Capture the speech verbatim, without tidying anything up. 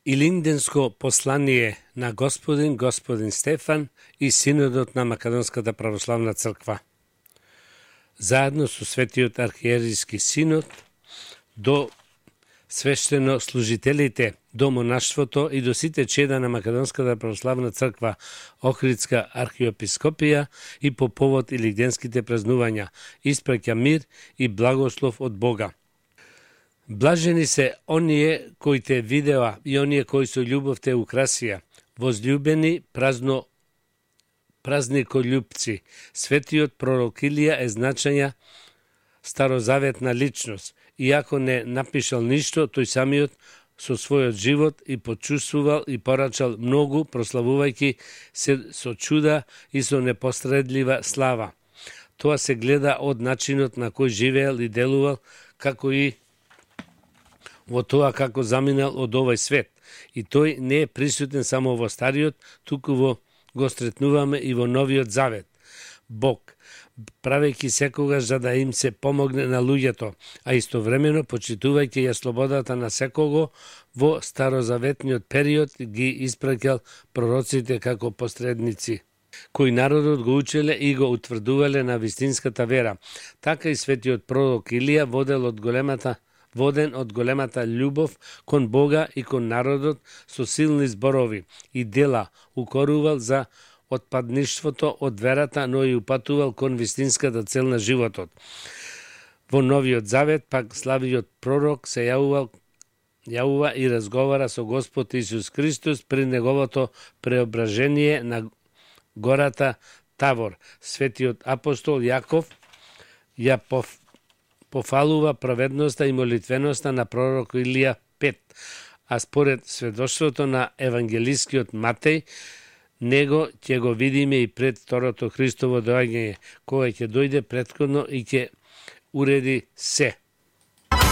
Илинденско послание на Господин Господин Стефан и Синодот на Македонската православна црква. Заедно со Светиот архиерейски синод до свештено служителите, до монаштвото и до сите чеда на Македонската православна црква, Охридска архиепископија и по повод илинденските празнувања, испраќа мир и благослов од Бога. Блажени се оние кои те видеа и оние кои со љубов те украсија, возлюбени празно празникољупци. Светиот пророк Илија е значања старозаветна личност. Иако не напишал ништо, тој самиот со својот живот и почувствувал и порачал многу, прославувајќи се со чуда и со непостредлива слава. Тоа се гледа од начинот на кој живеел и делувал, како и во тоа како заминал од овој свет. И тој не е присутен само во Стариот, туку во го сретнуваме и во Новиот Завет. Бог, правејќи секогаш за да им се помогне на луѓето, а истовремено почитувајќи ја слободата на секого, во старозаветниот период ги испраќал пророците како посредници, кои народот го учеле и го утврдувале на вистинската вера. Така и светиот пророк Илија водел од големата воден од големата љубов кон Бога и кон народот со силни зборови и дела, укорувал за отпадништвото од верата, но и упатувал кон вистинската цел на животот. Во Новиот Завет пак славиот пророк се јавувал јавува и разговара со Господ Исус Христос при неговото преображение на гората Тавор. Светиот апостол Јаков ја пов пофалува праведноста и молитвеноста на пророк Илија пет, а според сведоштвото на евангелискиот Матеј, него ќе го видиме и пред второто Христово доаѓање, кога ќе дојде претходно и ќе уреди се.